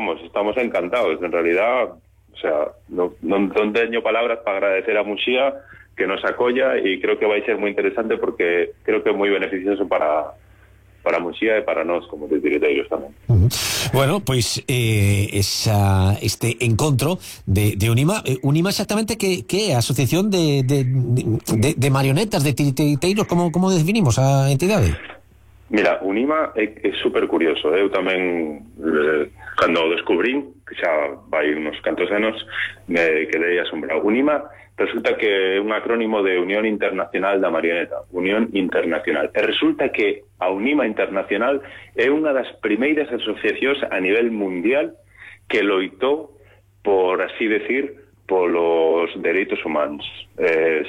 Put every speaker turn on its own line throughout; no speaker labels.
vamos, estamos encantados. En realidad, o sea, non teño palabras para agradecer a Muxía que nos acolla, e creo que vai ser moi interesante porque creo que é moi beneficioso para Muxía e para nós como titiriteiros tamén.
Bueno, pois este encontro de Unima, Unima exactamente que é a asociación de marionetas, de titiriteiros, como definimos a entidade?
Mira, Unima é super curioso. Eu tamén, cando o descubrín, que xa vai uns cantos anos, me quedei asombrado. Unima resulta que é un acrónimo de Unión Internacional da Marioneta, Unión Internacional. E resulta que a Unima Internacional é unha das primeiras asociacións a nivel mundial que loitou, por así decir, polos dereitos humanos.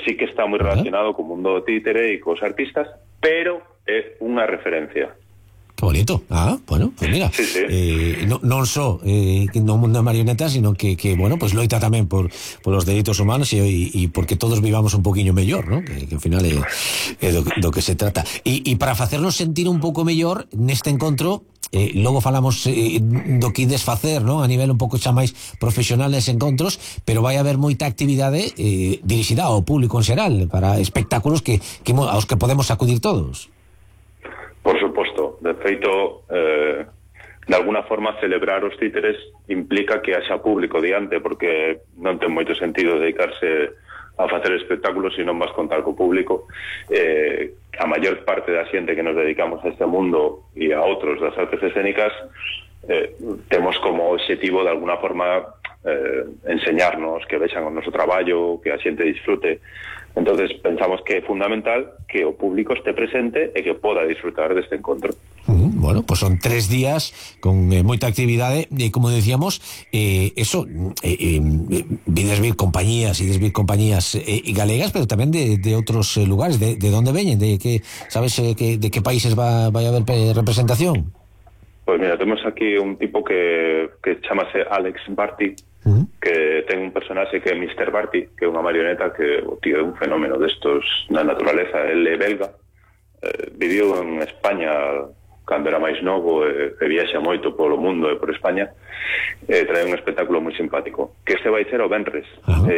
Sí que está moi relacionado co mundo do títere e cos artistas, pero é unha referencia.
Que bonito. Bueno, pues mira, non só no mundo da marioneta, sino que bueno, pues loita tamén por los dereitos humanos e porque todos vivamos un poquinho mellor, ¿no? Que ao final é do que se trata. E para facernos sentir un pouco mellor neste encontro, logo falamos do que ides facer, ¿no? A nivel un pouco xa máis profesional nes encontros, pero vai haber moita actividade dirixida ao público en xeral, para espectáculos aos que podemos acudir todos.
Por suposto. De feito, de alguna forma celebrar os títeres implica que haxa público diante, porque non ten moito sentido dedicarse a facer espectáculos se non vas contar co público. A maior parte da xente que nos dedicamos a este mundo e a outros das artes escénicas temos como objetivo de alguna forma enseñarnos, que vexan o noso traballo, que a xente disfrute. Entonces pensamos que é fundamental que o público este presente e que poda disfrutar deste encontro.
Bueno, pues son 3 días con moita actividade e, como decíamos, vides vir compañías galegas, pero tamén de outros lugares. De onde veñen? Sabes de que países vai haber representación?
Pois mira, temos aquí un tipo que chamase Alex Barty, que ten un personaxe que é Mr. Barty, que é unha marioneta que o tío é un fenómeno destos na naturaleza. El é belga, viviu en España cando era máis novo, e viaxa moito polo mundo e por España, trae un espectáculo moi simpático, que este vai ser o venres,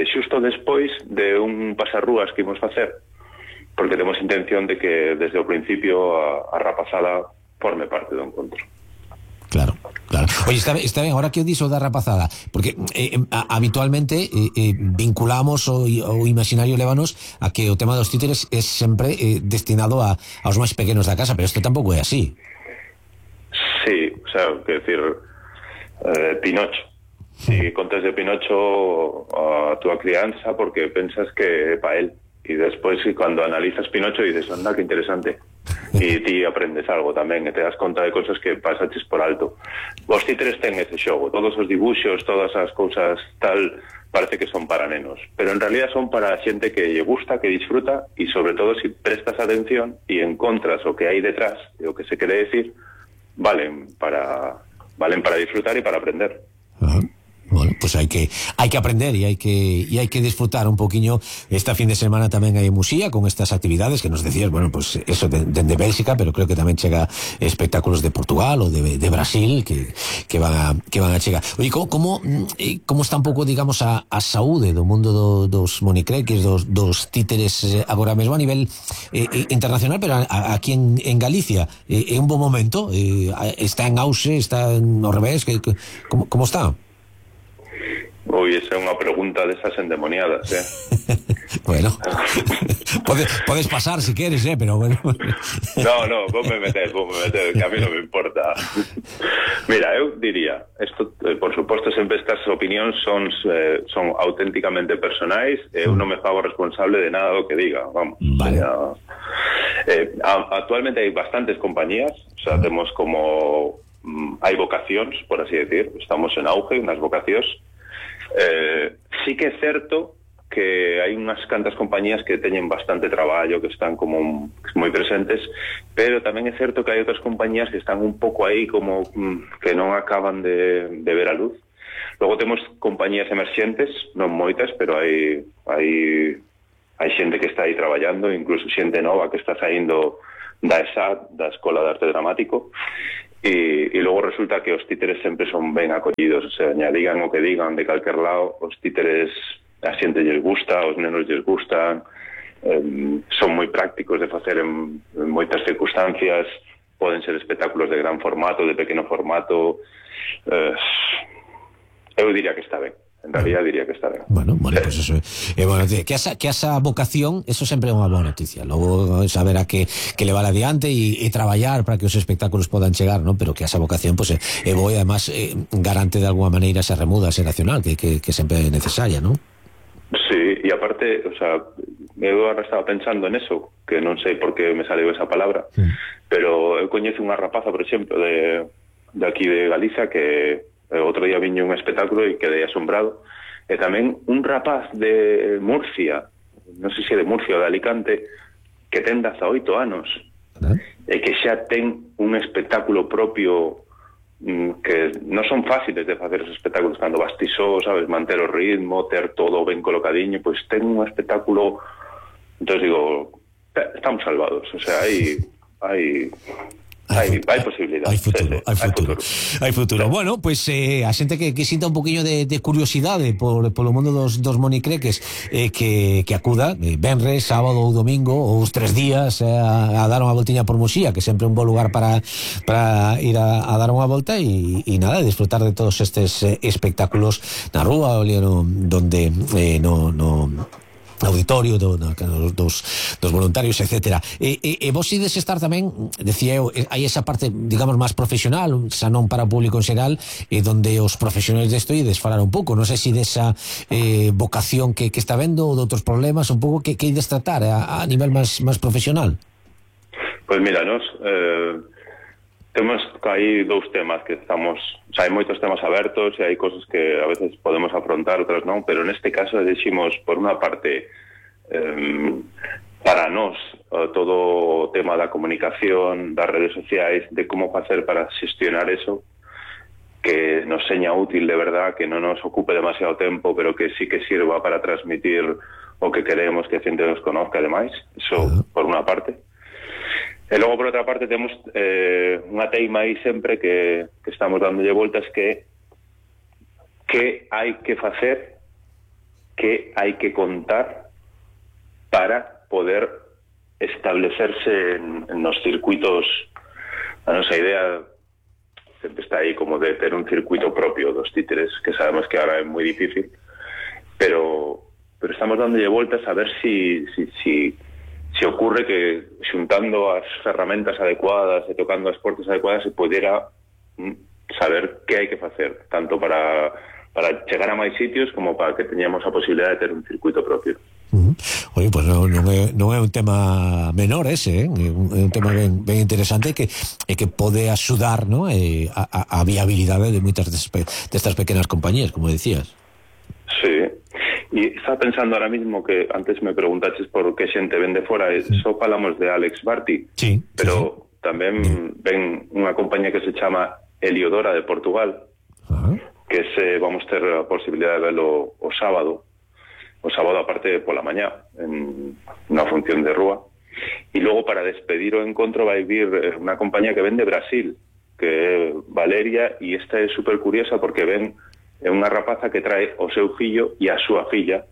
xusto despois de un pasarrúas que imos facer, porque temos intención de que desde o principio a rapazada forme parte do encontro.
Claro. Oye, está ben, ahora que o dixo da rapazada, porque habitualmente vinculamos o imaginario lévanos a que o tema dos títeres é sempre destinado aos máis pequenos da casa, pero isto tampouco é así.
Sí, o sea, que decir, Pinocho. Si contas de Pinocho a túa crianza porque pensas que é pa él, e despois cando analizas Pinocho dices, anda, que interesante. E ti aprendes algo tamén, e te das conta de cosas que pasaches por alto. Os títeres ten ese xogo, todos os dibuxos, todas as cousas tal, parece que son para nenos, pero en realidad son para xente que lle gusta, que disfruta, e sobre todo se prestas atención e encontras o que hai detrás e o que se quere decir, valen para disfrutar e para aprender.
Bueno, pues hai que aprender e hai que disfrutar un poquinho. Esta fin de semana tamén hai Muxía con estas actividades que nos decías, bueno, pues eso de Bélxica, pero creo que tamén chega espectáculos de Portugal ou de Brasil que van a chegar. Oye, como está un pouco, digamos, a saúde do mundo dos monicreques, dos títeres agora mesmo a nivel internacional, pero aquí en Galicia é un bon momento, está en auxe, está no revés, como está?
Ui, esa é unha pregunta desas endemoniadas,
Bueno, podes pasar si queres, pero bueno.
No, ponme meter, que a mí non me importa. Mira, eu diría, esto, por suposto, sempre estas opinións son auténticamente personais, eu non me fago responsable de nada do que diga, vamos.
Vale.
Actualmente hai bastantes compañías, o sea, temos como hai vocacións, por así decir, estamos en auge nas vocacións. Sí que é certo que hai unhas cantas compañías que teñen bastante traballo, que están como moi presentes, pero tamén é certo que hai outras compañías que están un pouco aí como que non acaban de ver a luz. Logo temos compañías emerxentes, non moitas, pero hai xente que está aí traballando, incluso xente nova que está saindo da ESAD, da Escola de Arte Dramático, e logo resulta que os títeres sempre son ben acollidos, o sea, digan o que digan de calquer lado, os títeres a xente lles gusta, os nenos lles gustan, son moi prácticos de facer en moitas circunstancias, poden ser espectáculos de gran formato, de pequeno formato, eu diría que está ben. En realidad diría que está ben.
Bueno, pues eso bueno, que esa vocación, eso sempre é unha boa noticia. Logo saber a que le vale adiante e traballar para que os espectáculos podan chegar, ¿no? Pero que esa vocación pues, é boa e además garante de alguma maneira esa remuda xeracional que sempre é necesaria, ¿no?
Sí, e aparte, o sea, eu agora estaba pensando en eso, que non sei por que me saliu esa palabra, pero eu coñezo unha rapaza, por exemplo, de aquí de Galiza, que outro día viño un espectáculo e quedei asombrado, e tamén un rapaz de Murcia, non sei se de Murcia ou de Alicante, que ten 18 anos e que xa ten un espectáculo propio, que non son fáciles de facer os espectáculos cando vas ti só, sabes, manter o ritmo, ter todo ben colocadiño, pois ten un espectáculo. Entón digo, estamos salvados, o sea, hai posibilidade.
Hai futuro. Bueno, pues a xente que sinta un poquinho de curiosidade polo mundo dos monicreques, que acuda venres, sábado ou domingo ou os 3 días a dar unha voltiña por Muxía, que sempre é un bo lugar para ir a dar unha volta e nada, disfrutar de todos estes espectáculos na rúa, donde no auditorio dos voluntarios, etcétera. E vos ides estar tamén, decía eu, hai esa parte, digamos, máis profesional, xa non para o público en xeral, donde os profesionais desto ides falar un pouco, non sei se desa vocación que está vendo ou de outros problemas, un pouco que ides tratar a nivel máis profesional.
Pois mira, nos temos aí 2 temas que estamos, o sea, hai moitos temas abertos e hai cosas que a veces podemos afrontar, outras non, pero neste caso decimos, por unha parte, para nós, todo o tema da comunicación, das redes sociais, de como facer para xestionar eso, que nos seña útil de verdad, que non nos ocupe demasiado tempo, pero que sí que sirva para transmitir o que queremos que a xente nos conozca, ademais, eso por unha parte. E logo, por outra parte, temos unha teima aí sempre que estamos dándolle voltas, que hai que facer, que hai que contar para poder establecerse en nos circuitos. A nosa idea sempre está aí como de ter un circuito propio dos títeres, que sabemos que ahora é moi difícil, pero estamos dándolle voltas a ver si ocurre que xuntando as ferramentas adecuadas e tocando as portas adecuadas se pudera saber que hai que facer, tanto para chegar a máis sitios como para que teñamos a posibilidade de ter un circuito propio.
Oye, pues non é un tema menor ese, é un tema ben interesante que pode axudar, ¿no? a viabilidade de moitas destas pequenas compañías, como decías.
Sí. E estaba pensando ahora mismo que antes me preguntaches por que xente ven de fora, só falamos de Alex Barty, pero tamén ven unha compañía que se chama Heliodora de Portugal, que vamos ter a posibilidade de verlo o sábado aparte pola mañá, en unha función de rúa, e logo para despedir o encontro vai vir unha compañía que ven de Brasil, que é Valeria, e esta é super curiosa porque ven é unha rapaza que trae o seu fillo e a súa filla,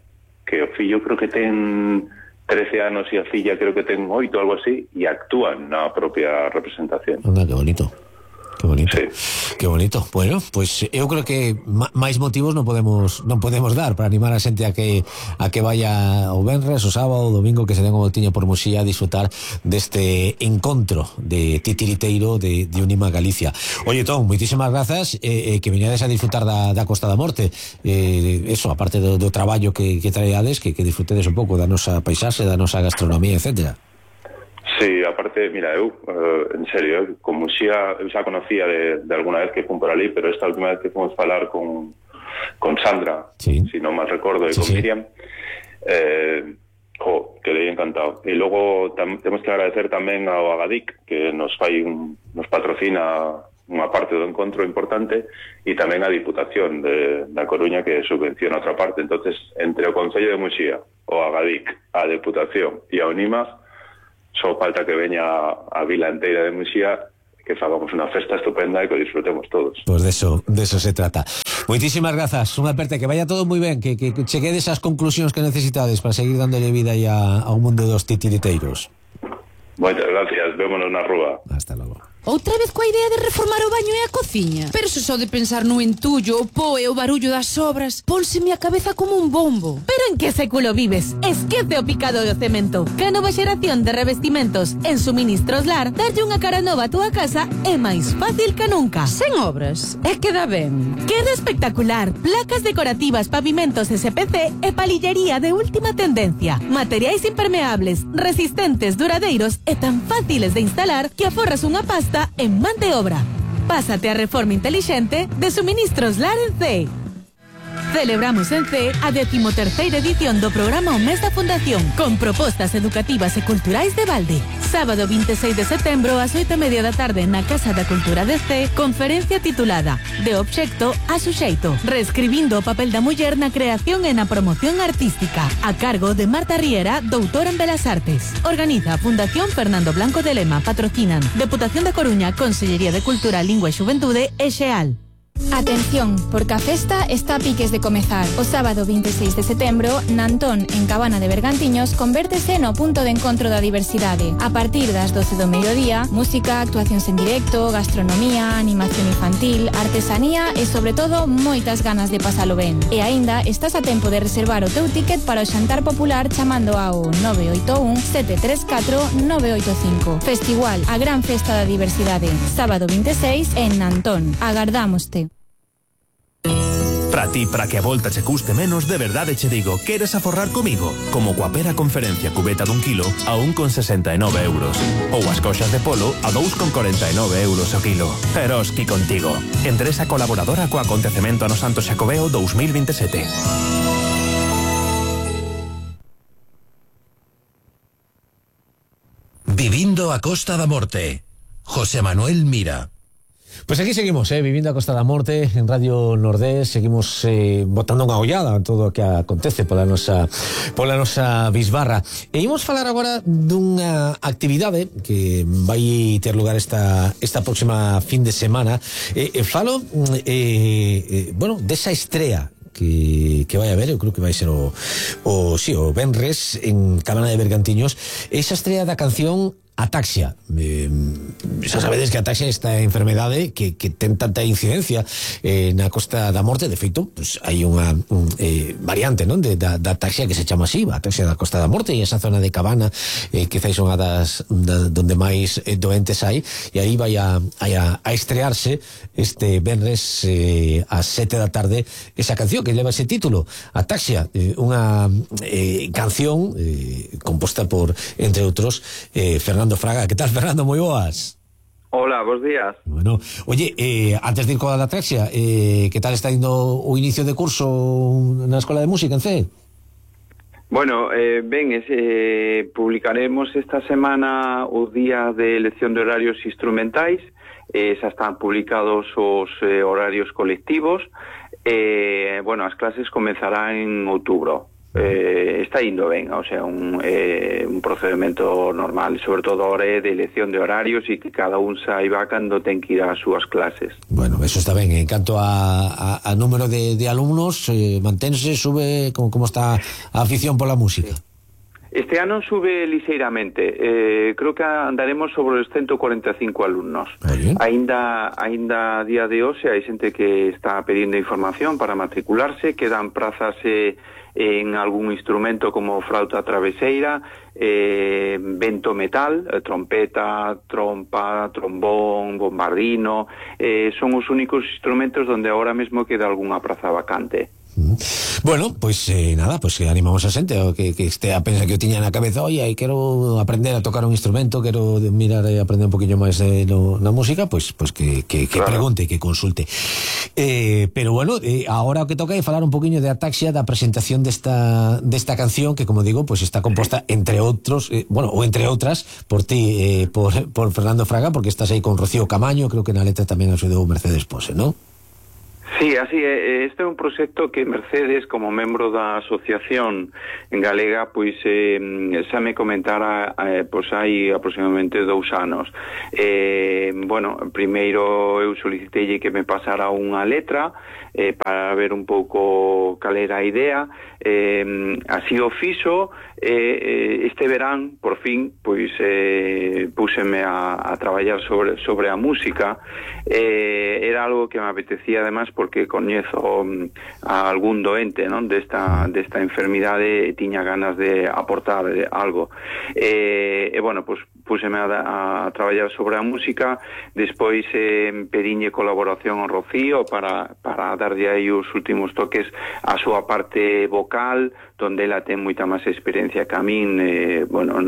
que o fillo creo que ten 13 anos e a filla creo que ten 8 ou algo así, e actúan na propia representación.
Anda, que bonito. Que bonito.
Sí.
Que bonito. Bueno, pues eu creo que máis motivos non podemos dar para animar a xente a que vaya o venres, o sábado, o domingo, que se den o voltiño por Muxía a disfrutar deste encontro de titiriteiro de Unima Galicia. Oye, Tom, moitísimas grazas, que viñades a disfrutar da Costa da Morte, eso, aparte do traballo que traeades, que disfrutedes un pouco da nosa paisaxe, da nosa gastronomía, etcétera.
Sí, aparte, mira, eu, en serio, con Muxía, eu xa conocía de alguna vez que fun por ali, pero esta última vez que fomos falar con Sandra, si non mal recordo, e con Miriam, quedei encantado. E logo temos que agradecer tamén ao Agadic, que nos patrocina unha parte do encontro importante, e tamén a Diputación da Coruña, que subvenciona outra parte. Entonces, entre o Concello de Muxía, o Agadic, a Diputación e a Unima, só falta que veña a vila enteira de Muxía que fagamos unha festa estupenda e que disfrutemos todos.
Pues de eso se trata. Moitísimas grazas, unha aperta, que vaya todo moi ben, que cheguedes as conclusións que necesitades para seguir dándole vida ya ao mundo dos titiriteiros.
Moitas gracias, vémonos na rúa.
Hasta logo.
Outra vez coa idea de reformar o baño e a cociña. Pero se só de pensar no entullo, o po e o barullo das obras, pónseme a cabeza como un bombo.
Pero en que século vives? Esquece o picado do cemento. Que a nova xeración de revestimentos en Suministros Lar darlle unha cara nova a túa casa é máis fácil que nunca.
Sen obras, é que dá ben.
Queda espectacular. Placas decorativas, pavimentos SPC e palillería de última tendencia. Materiais impermeables, resistentes, duradeiros e tan fáciles de instalar que aforras unha pasta en man de obra. Pásate a reforma inteligente de Suministros Lar en CEE. Celebramos en CEE a 13ª edición do programa O Mes da Fundación, con propostas educativas e culturais de balde. Sábado 26 de setembro ás 8:30 da tarde na Casa da Cultura de CEE, conferencia titulada De obxecto a suxeito, reescribindo o papel da muller na creación e na promoción artística, a cargo de Marta Riera, doutora en Belas Artes. Organiza a Fundación Fernando Blanco de Lema, patrocinan Deputación da Coruña, Consellería de Cultura, Lingua e Xuventude e XEAL.
Atención, porque a festa está a piques de comezar. O sábado 26 de setembro, Nantón, en Cabana de Bergantiños, convértese no punto de encontro da diversidade. A partir das 12 do mediodía, música, actuacións en directo, gastronomía, animación infantil, artesanía e, sobre todo, moitas ganas de pasalo ben. E aínda estás a tempo de reservar o teu ticket para o xantar popular chamando ao 981 734 985. Festival, a gran festa da diversidade. Sábado 26 en Nantón. Agardámoste.
Para ti, para que a volta che custe menos, de verdade che digo, queres aforrar comigo? Como coa pera conferencia cubeta dun kilo a 1,69 euros. Ou as coxas de polo a 2,49 euros o kilo. Eroski contigo. Empresa colaboradora co acontecemento no Santo Xacobeo 2027.
Vivindo a Costa da Morte. José Manuel Mira.
Pues aquí seguimos, vivindo a Costa da Morte en Radio Nordés, seguimos botando unha ollada a todo o que acontece pola nosa bisbarra. E imos falar agora dunha actividade que vai ter lugar esta próxima fin de semana. Falo desa estrea que vai haber, eu creo que vai ser o venres en Cabana de Bergantiños, esa estrea da canción Ataxia. Xa sabedes que a ataxia é esta enfermedade que ten tanta incidencia na Costa da Morte. De feito, pues, hai unha variante, non, da ataxia que se chama así, a ataxia da Costa da Morte, e esa zona de Cabana quizás son donde máis doentes hai, e aí vai a estrearse este venres ás 7 da tarde esa canción que leva ese título, Ataxia, unha canción composta por, entre outros, Fernando Fraga. Que tal, Fernando? Moi boas.
Hola, bons días.
Bueno, oye, antes de ir coa da ataxia, que tal está indo o inicio de curso na Escola de Música en CEE?
Bueno, publicaremos esta semana o día de elección de horarios instrumentais, xa están publicados os horarios colectivos, as clases comenzarán en outubro. Está indo ben, o sea, un procedimento normal, sobre todo ahora de elección de horarios e que cada un saiba cando ten que ir ás súas clases.
Bueno, eso está ben. En canto a número de alumnos, mantense, sube, como está a afición pola música?
Este ano sube ligeiramente, creo que andaremos sobre os 145 alumnos. Ainda a día de hoxe hai xente que está pedindo información para matricularse, quedan prazas en algún instrumento como flauta traveseira, vento metal, trompeta, trompa, trombón, bombardino, son os únicos instrumentos donde ahora mesmo queda algunha praza vacante.
Bueno, pues nada, pues animamos a xente que este a pensa que eu tiña na cabeza, oye, quero aprender a tocar un instrumento, quero mirar e aprender un poquinho máis na música, pues que claro, pregunte, que consulte. Pero bueno, agora o que toca é falar un poquinho de Ataxia, da presentación desta canción, que como digo, pues está composta entre outros, ou entre outras, por ti, por Fernando Fraga, porque estás aí con Rocío Camaño, creo que na letra tamén axudou Mercedes Pose, ¿no?
Sí, así é. Este é un proxecto que Mercedes, como membro da asociación galega, pois xa me comentara pois hai aproximadamente 2 anos. Bueno, primeiro eu solicitei que me pasara unha letra para ver un pouco cal era a idea. Así o fixo. Este verán, por fin, pois púseme a traballar sobre a música. Era algo que me apetecía, además, porque coñezo a algún doente, non, desta enfermidade e tiña ganas de aportar algo. Bueno, pois púseme a traballar sobre a música. Despois pediñe colaboración ao Rocío para darlle aí os últimos toques a súa parte vocal, donde ela ten moita máis experiencia que a min, bueno,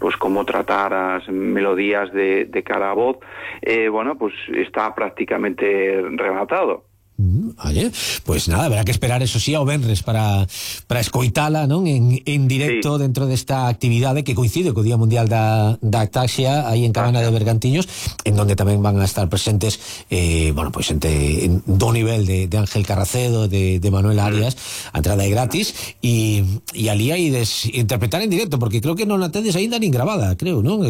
pois como tratar as melodías de cara a voz. Bueno, pois está prácticamente rematado.
Vale, pues nada, habrá que esperar, eso sí, ao venres para escoitala, non, en directo, sí, dentro desta actividade que coincide co Día Mundial da Ataxia aí en Cabana de Bergantiños, en donde tamén van a estar presentes bueno, pois xente do nivel de Ángel Carracedo, de Manuel Arias. A entrada é gratis e ali hai interpretar en directo, porque creo que non a tedes aínda nin grabada, creo, non?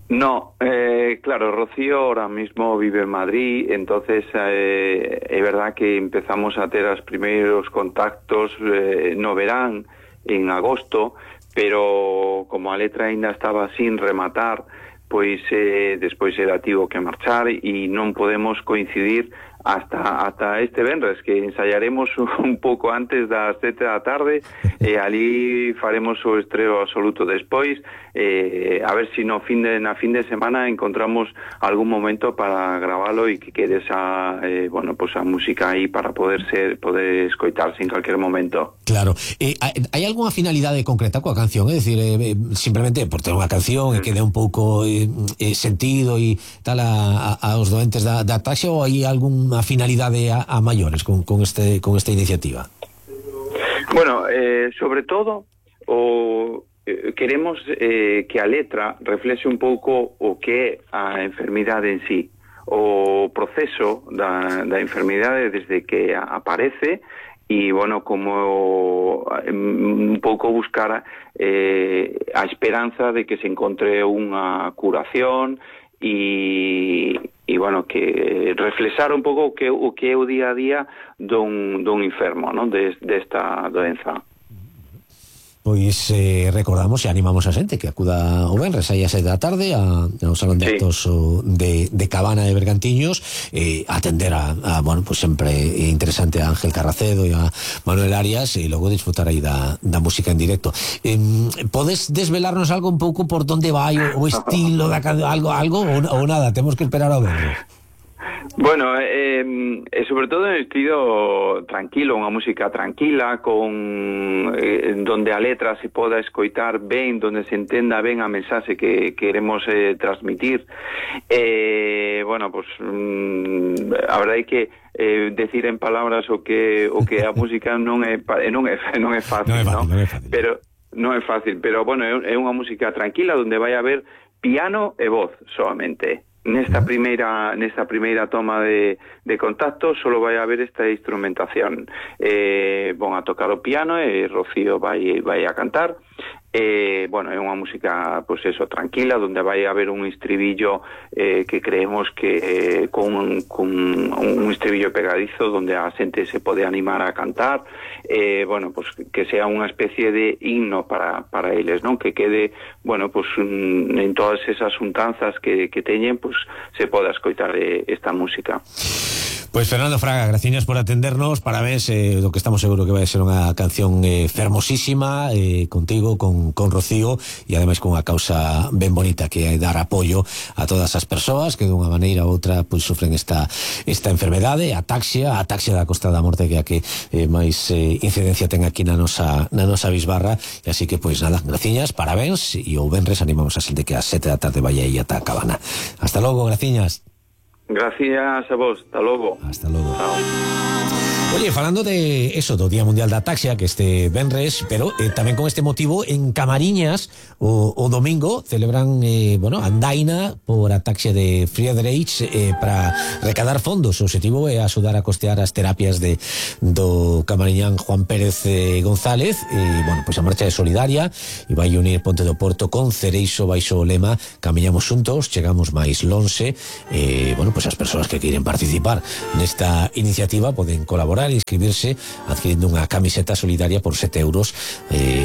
No, claro, Rocío ahora mismo vive en Madrid, entonces es verdad que empezamos a tener los primeros contactos no verán, en agosto, pero como a letra ainda estaba sin rematar, pois despois era tivo que marchar e non podemos coincidir hasta este venres, que ensayaremos un pouco antes das 7 da tarde e ali faremos o estreo absoluto. Despois a ver si na fin de semana encontramos algún momento para gravalo e que quede esa bueno, pues a música aí para poder escoitarse en calquer momento.
Claro. Hai algunha finalidade concreta coa canción? É dicir, simplemente por ter unha canción e que dé un pouco sentido e tal aos doentes da ataxia, ou hai algunha finalidade a maiores con esta iniciativa?
Bueno, sobre todo queremos que a letra reflexe un pouco o que é a enfermidade en sí, o proceso da enfermidade desde que aparece e, bueno, como un pouco buscar a esperanza de que se encontre unha curación e bueno, que reflexar un pouco o que é o día a día dun enfermo, non, desta doenza.
Pois recordamos e animamos a xente que acuda o venres aí a 7 da tarde ao Salón de Actos de Cabana de Bergantiños, atender a bueno, pues sempre interesante a Ángel Carracedo e a Manuel Arias, e logo disfrutar aí da música en directo. Podes desvelarnos algo un pouco por donde vai o estilo da algo ou nada, temos que esperar ao venres?
Bueno, sobre todo en estilo tranquilo, unha música tranquila, con donde a letra se poda escoitar ben, donde se entenda ben a mensaxe que queremos transmitir. Bueno, pues a verdade é que decir en palabras o que a música non é fácil, non? Pero non é fácil, pero bueno, é unha música tranquila donde vai haber piano e voz solamente. Nesta primeira toma de contacto solo vai haber esta instrumentación. Van a tocar o piano e Rocío vai a cantar. Bueno, é unha música, pues eso, tranquila, donde vai haber un estribillo que creemos que con un estribillo pegadizo donde a xente se pode animar a cantar. Bueno, pues que sea unha especie de himno para eles, non? Que quede, bueno, pues en todas esas untanzas que teñen, pues se poda escoitar esta música.
Pues Fernando Fraga, gracias por atendernos, parabéns, lo que estamos seguro que vai ser unha canción fermosísima, contigo, con Rocío, e ademais con unha causa ben bonita, que é dar apoio a todas as persoas que dunha maneira ou outra pues sufren esta enfermedade, a ataxia da Costa da Morte, que é a que máis incidencia ten aquí na nosa bisbarra, e así que pues nada, graciñas, parabéns, e o venres animamos a xente que a 7 da tarde vai aí ata a Cabana. Hasta logo, graciñas.
Gracias a vos, hasta logo.
Hasta logo.
Chao.
Oye, falando de eso, do Día Mundial da Taxia, que este venres, pero tamén con este motivo en Camariñas o domingo celebran andaina por a taxia de Friedrich para recadar fondos. O objetivo é axudar a costear as terapias do camariñán Juan Pérez González. Pois a marcha é solidaria e vai unir Ponte do Porto con Cereixo baixo o lema Camiñamos xuntos, chegamos máis lonxe. Pois as persoas que queiren participar nesta iniciativa poden colaborar e inscribirse adquirindo unha camiseta solidaria por 7 euros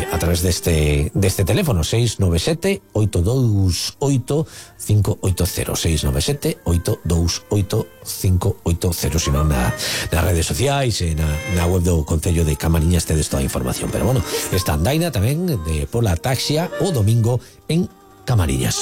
a través deste teléfono 697-828-580 697-828-580, sino nas redes sociais e na web do Concello de Camariñas tedes toda a información. Pero esta andaina tamén pola taxia o domingo en Camariñas.